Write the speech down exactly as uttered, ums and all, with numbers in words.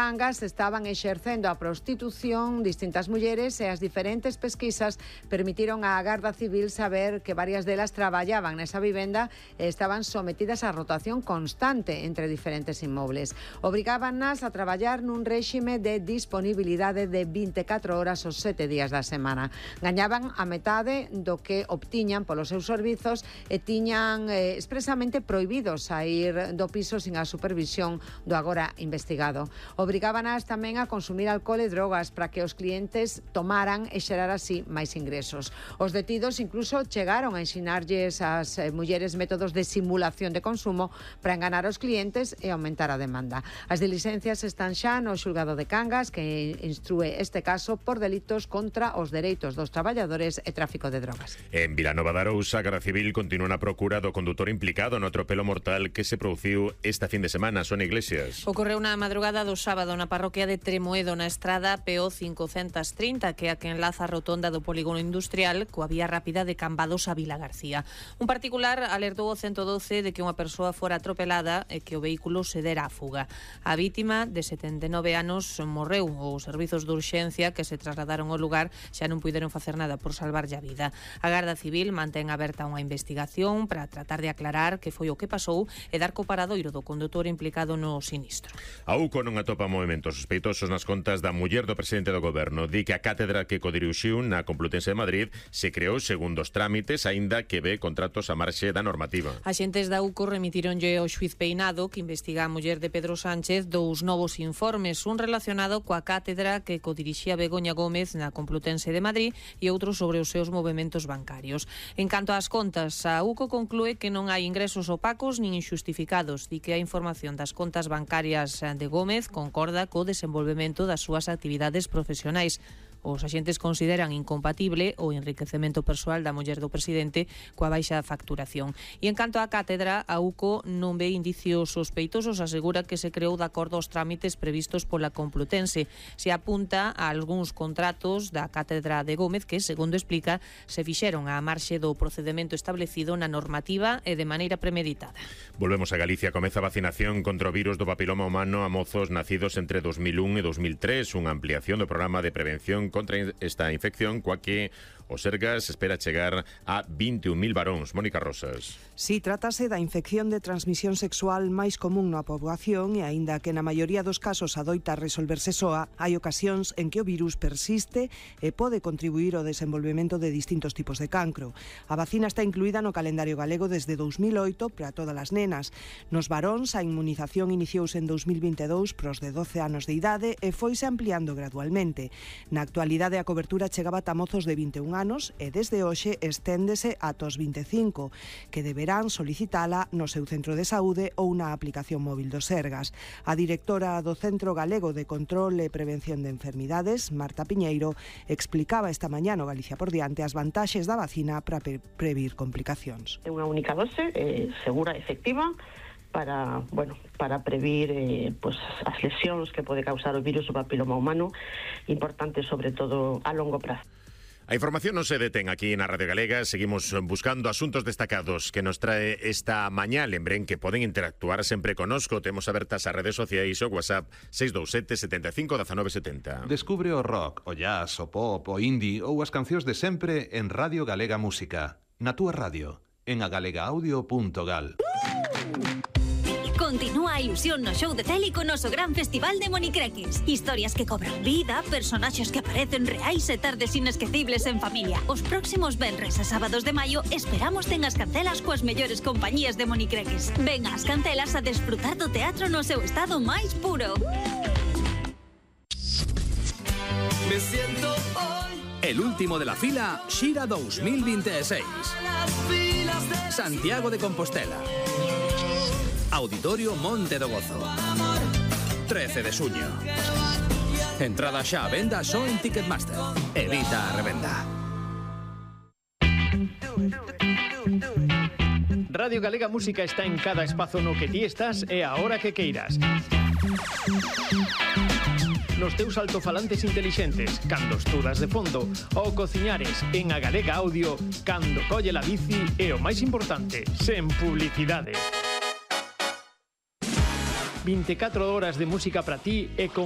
Cangas estaban exercendo a prostitución distintas mulleres e as diferentes pesquisas permitiron á Garda Civil saber que varias delas traballaban nesa vivenda e estaban sometidas a rotación constante entre diferentes inmobles. Obrigábannas a traballar nun réxime de disponibilidade de vinte e catro horas os sete días da semana. Gañaban a metade do que obtiñan polos seus servizos e tiñan eh, expresamente prohibidos a ir do piso sin a supervisión do agora investigado. Obrigábanas tamén a consumir alcohol e drogas para que os clientes tomaran e xerar así máis ingresos. Os detidos incluso chegaron a ensinarlles ás eh, mulleres métodos de simulación de consumo para enganar aos clientes e aumentar a demanda. As diligencias están xa no xulgado de Cangas, que instrúe este caso por delitos contra os dereitos dos traballadores e tráfico de drogas. En Vilanova de Arousa, a Garda Civil continúa na procura do condutor implicado no atropelo mortal que se produciu esta fin de semana. Sonia Iglesias. Ocorreu na madrugada do sábado na parroquia de Tremoedo, na estrada P O cincocentos trinta, que é a que enlaza a rotonda do polígono industrial coa vía rápida de Cambados a Vila García. Un particular alertou ao ciento doce de que unha persoa fora atropelada e que o vehículo se dera a fuga. A vítima, de setenta e nove anos, morreu. Os servizos de urxencia que se trasladaron ao lugar xa non puideron facer nada por salvarlle a vida. A Garda Civil mantén aberta unha investigación para tratar de aclarar que foi o que pasou e dar co paradoiro do condutor implicado no sinistro. A U C O non atopa movementos sospeitosos nas contas da muller do presidente do goberno. Di que a cátedra que codirixiu na Complutense de Madrid se creou segundo os trámites, aínda que ve contratos a marxe da normativa. Axentes da U C O remitironlle ao xuiz Peinado, que investiga a muller de Pedro Sánchez, dous novos informes, un relacionado coa cátedra que codirixía Begoña Gómez na Complutense de Madrid e outro sobre os seus movementos bancarios. En canto ás contas, a U C O conclúe que non hai ingresos opacos nin injustificados. Di que a información das contas bancarias de Gómez concorda co desenvolvemento das súas actividades profesionais. Os axentes consideran incompatible o enriquecemento persoal da muller do presidente coa baixa facturación. E en canto á cátedra, a U C O non ve indicios sospeitosos, asegura que se creou de acordo aos trámites previstos pola Complutense. Se apunta a algúns contratos da cátedra de Gómez que, segundo explica, se fixeron á marxe do procedemento establecido na normativa e de maneira premeditada. Volvemos a Galicia. Comeza a vacinación contra o virus do papiloma humano a mozos nacidos entre dos mil un e dos mil tres, unha ampliación do programa de prevención contra esta infección, coa que o Sergas espera chegar a vinte e un mil varóns. Mónica Rosas. Si, trátase da infección de transmisión sexual máis común na poboación e, aínda que na maioría dos casos adoita resolverse soa, hai ocasións en que o virus persiste e pode contribuir ao desenvolvemento de distintos tipos de cancro. A vacina está incluída no calendario galego desde dous mil oito para todas as nenas. Nos varóns, a inmunización iniciouse en dous mil vinte e dous pros de doce anos de idade e foise ampliando gradualmente. Na actualidade, a cobertura chegaba ata mozos de vinte e un anos e desde hoxe esténdese ata os vinte e cinco, que deberán solicitala no seu centro de saúde ou na aplicación móvil do Sergas. A directora do Centro Galego de Control e Prevención de Enfermidades, Marta Piñeiro, explicaba esta mañá no Galicia por diante as vantaxes da vacina para pre previr complicacións. É unha única dose, eh, segura e efectiva, para, bueno, para previr eh, pues, as lesións que pode causar o virus do papiloma humano, importante sobre todo a longo prazo. A información non se detén aquí na Radio Galega. Seguimos buscando asuntos destacados que nos trae esta mañá. Lembren que poden interactuar sempre conosco. Temos abertas as redes sociais o WhatsApp seis dous sete, sete cinco, uno nove sete cero. Descubre o rock, o jazz, o pop, o indie ou as cancións de sempre en Radio Galega Música. Na túa radio, en agalegaudio punto gal. Continúa a ilusión no show de tele co noso gran festival de monicreques. Historias que cobran vida, personaxes que aparecen reais e tardes inesquecibles en familia. Os próximos venres e sábados de maio esperamos ten as cancelas coas mellores compañías de monicreques. Ven ás cancelas a desfrutar do teatro no seu estado máis puro. Me siento hoy. El último de la fila, Xira dos mil veintiséis. Santiago de Compostela. Auditorio Monte do Gozo. trece de xuño. Entrada xa a venda só en Ticketmaster. Evita a revenda. Radio Galega Música está en cada espazo no que ti estás e a hora que queiras. Nos teus altofalantes intelixentes, cando estudas de fondo, ou cociñares en a Galega Audio, cando colle la bici e o máis importante, sen publicidade. vinte e catro horas de música para ti e con